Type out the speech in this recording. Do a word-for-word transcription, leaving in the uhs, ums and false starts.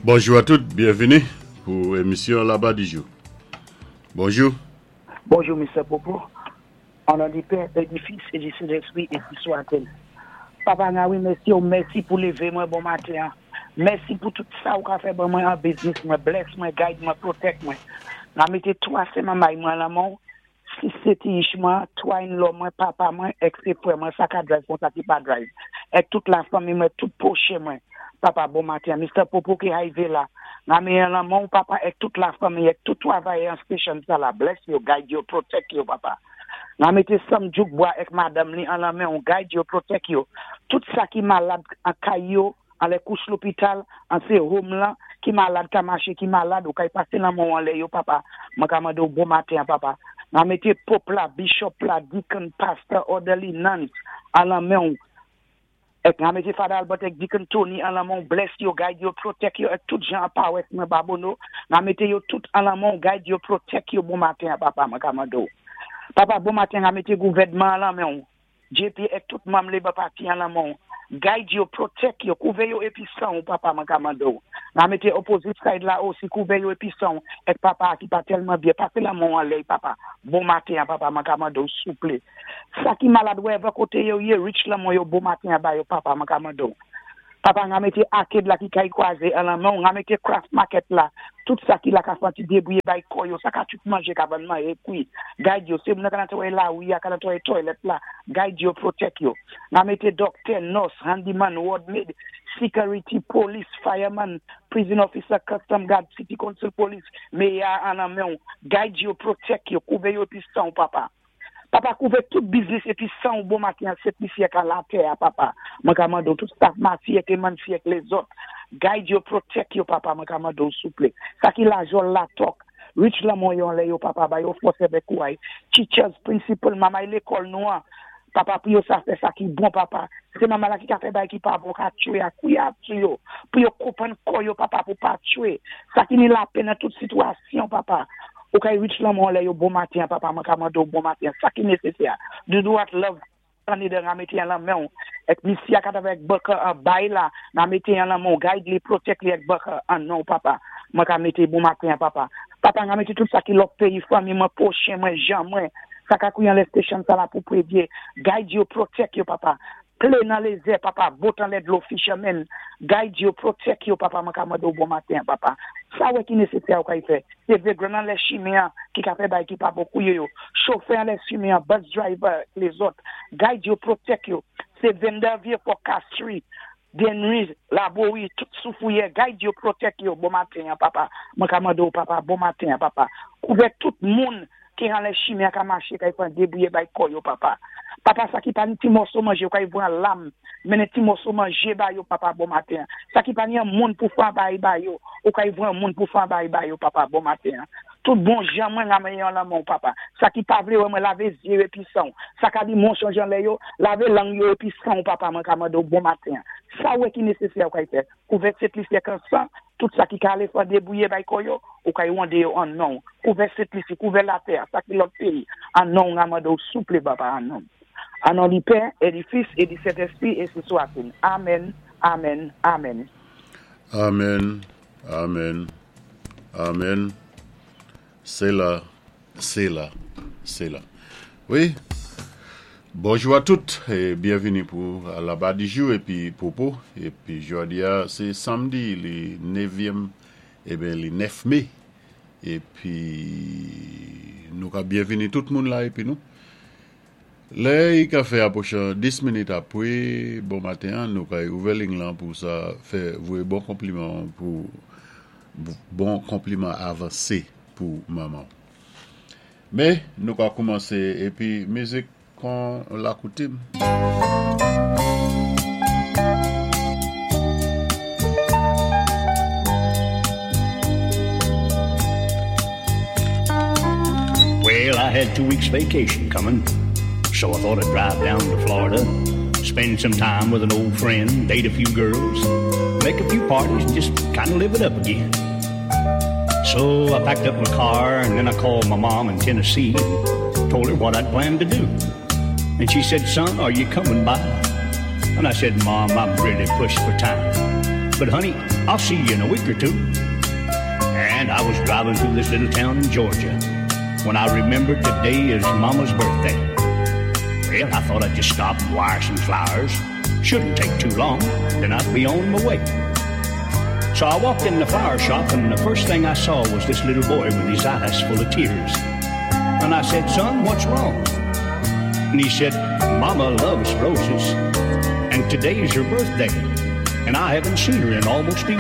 Bonjou a tout, byenvini pou émisyon Laba Dijou. Bonjou. Bonjou, Mister Popo. An non di Pè, é di Fis, é di Sentespwi, ensi swat-il. Papa Nawi, mèsi, oh, mèsi pou lévé mwen bon maten. Mèsi pou tout sa ou ka fè ban mwen an business mwen, bless mwen, guide mwen, protect mwen. Nan mété twa sé manmay mwen lan men, sis sé ti ich mwen, twa in-law mwen, papa mwen, èk sé frè mwen, sa ka drive kon sa ki pa drive. Èk tout lafanmi mwen, tout pwochen mwen. Papa, bon maten. Mister Popo ki arivé la. Nan men lan men, papa, èk tout lafanmi, èk tout twavayè an station sa la. Bless yo, guide yo, protect yo, papa. Nan mété Sam Djoukbois èk madanm li an lan men, on guide yo, protect yo. Tout sa ki malad an kay yo, an lè kouch lopital, an sé home lan, ki malad ka maché, ki malad, ou kay pasé lan men an lè yo, papa. Mwen ka mandé ou bon maten, papa. Nan mété Pope la, Bishop la, Deacon, Pastor, Orderly, Nuns, an lan men ou. Èk nan mété Father Albert èk Deacon Tony an lan men, bless yo, guide yo, protect yo, èk tout jan pawès mwen Babonneau. Nan mété yo tout an lan men, guide yo, protect yo, bon maten, papa, mwen ka mandé ou. Papa, bon maten, nan mété gouvèdman an lan men. J P èk tout manm Labour Party an lan men. Guide yo, protect yo, kouvè yo épi san ou, papa, mwen ka mandé ou. Nan mété opposite side la osi, kouvè yo épi san ou, èk papa ki pa tèlman byen, pasé lan men an lè, papa. Bon maten, papa, mwen ka mandé ou, souplé. Sa ki malad wherever koté yo yé, reach lan men yo bon maten ba yo, papa, mwen ka mandé ou. Papa, nan mété arcade la ki kay kwazé an lan men, nan mété craft market la, tout sa ki la ka fanti débouye bay kò yo, sa ka tout manjé ka ban manje kwi. Guide yo, sé moun ka netwayé lari, ka netwayé toilet la, guide yo, protect yo. Nan mété doctor, nurse, handyman, ward maid, security, police, fireman, prison officer, custom guard, city council police, mayor an lan men, guide yo, protect yo, kouvè yo épi san, papa. Papa, kouvè tout business épi san bon maten sèt misye ka latè, papa. Mwen ka mandé tout staff Mati èk Mansi èk lézòt. Guide yo, protect yo, papa, mwen ka mandé souplé. Sa ki la jol la tok. Reach lan men yo lè yo, papa, ba yo fòs avèk kouray. Teachers, principal, mamay lékòl nou an. Papa, pou yo sa fè sa ki bon, papa. Sé manman la ki ka fè bay ki pa bon, ka tchwé a kouya sou yo. Pou yo konpwann kò yo, papa, pou pa tchwé. Sa ki ni lapè nan tout sitwasyon, papa. Ou kay reach lan men lè yo bon maten, papa, mwen ka mandé bon maten. Sa ki nésésè. Do what love Canada nan mété an lan men. Èk misya kat avèk Bucker an bay la, nan mété an lan men, guide li, protect li èk Bucker an non, papa. Mwen ka mété bon maten, papa. Papa, nan mété tout sa ki lòt péyi, fanmi mwen, pwochen mwen, jan mwen. Sa ka kouyan lè station sa la pou prévyé. Guide yo, protect yo, papa. Plane nan lézè, papa. Boat an lè dlo, fishermen. Guide yo, protect yo, papa. Mwen ka mandé bon maten, papa. Sa wè ki nésésè ou ka y fè. Se vegran an lè chimen ki ka fè bay ki pa bon kouye yo. Chofè an lè chimen, bus driver, lézòt. Guide yo, protect yo. Se vendor vie for Castries, Denry, Laborie, tout soufouye. Guide yo, protect yo. Bon maten, papa. Mwen ka mandé ou, papa. Bon maten, papa. Kouvè tout moun ki an lè chimen ka maché, ka y fè débouye bay kò yo, papa. Papa, sa ki pa ni ti mòso manjé, yo ka y vwan lam, mennen ti mòso manjé ba yo, papa, bon maten. Sa ki pa ni an moun pou fwa bay ba yo, ou ka y vwan moun pou fwa bay ba yo, papa, bon maten. Tout bon jan mwen ramen yon lan moun, papa. Sa ki pa vlé wè mwen, lavé zyé épi san. Sa ka di monsonj an lè yo, lavé lang yo épi san, papa, mwen ka mandé bon maten. Sa wè ki nésésè ou ka y fè. Kouvè Sent Lisi an san, tout sa ki ka ale fwa débouye bay kò yo, ou ka y wande yo an non. Kouvè Sent Lisi, kouvè latè, sa ki lòt péyi, an non, mwen mande ou souplé, papa, an non. An non di Pè, é di Fis, é di Sentespwi, ensi swat-il. Amen, amen, amen. Amen, amen, amen. C'est là, c'est là, c'est là. Wi. Bonjou a tout é byenvini pou Laba Dijou épi Popo. Épi jòdi a, sé samdi, lé nevyèm, eben lé nèf mé. Épi nou ka byenvini tout moun la épi nou. Lè i ka fè apwochan dis minit apwé bon maten, nou ka ouvè liy lan pou sa fè voyé bon konpliman pou bon konpliman avansé pou manman. Mé nou ka koumansé épi mizik kon lakoutim. Well, I had two weeks vacation coming, so I thought I'd drive down to Florida, spend some time with an old friend, date a few girls, make a few parties, and just kind of live it up again. So I packed up my car, and then I called my mom in Tennessee and told her what I'd planned to do. And she said, "Son, are you coming by?" And I said, "Mom, I'm really pushed for time." But honey, I'll see you in a week or two. And I was driving through this little town in Georgia when I remembered today is Mama's birthday. Well, I thought I'd just stop and wire some flowers. Shouldn't take too long, then I'd be on my way. So I walked in the flower shop, and the first thing I saw was this little boy with his eyes full of tears. And I said, Son, what's wrong? And he said, Mama loves roses, and today's her birthday, and I haven't seen her in almost a